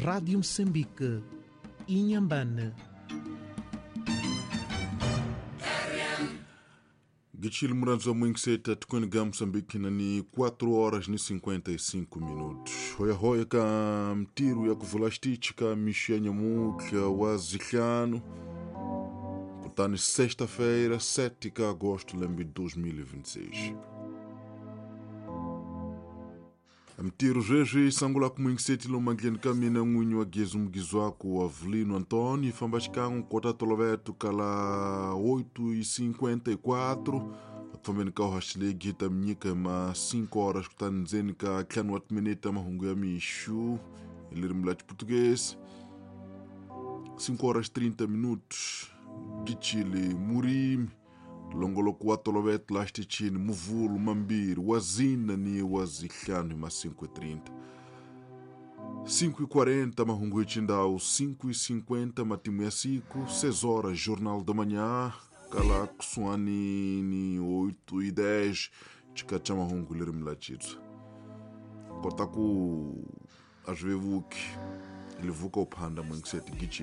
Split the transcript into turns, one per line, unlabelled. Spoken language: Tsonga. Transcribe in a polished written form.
Rádio Moçambique, Inhambane.
Gichili muranzi wa mwingiseta tukweniga Moçambique na ni 4 horas ni 55 minutos. Hoya hoya ka mtiru ya kuvula xitichi ka mixo ya nyamutlha wa zihlanu kutani sexta-feira 7 de agosto lembe 2026. Mtiro zwezwi sangula kumwingiseti lomandleni ka mina n'winyi wa gezi mugizwaku wa Avelino Antônio famba xikan'we kota toloveto kala 8:54 akufambeni ka uhaxilegi hi ta mi nyika ma 5 horas kutani ndzeni ka ntlhanu wa timinete ta mahungu ya mixu hi ririmi la Xiputukezi 5 horas 30 minutos Gichili Murimi longoloko wa toloveto laha xitichini muvhulu mambirhi wa zina ni wa zihlanu hi ma 5:30 5:40 mahungu hi xindhawu 5:50 matimu ya siku 6 horas jornal da manhã kala kusuhani ni 8:10 xikati xa mahungu hi ririmi la Xitswa kota ku a swi vevuki livuka uphanda mwingiseti gichili.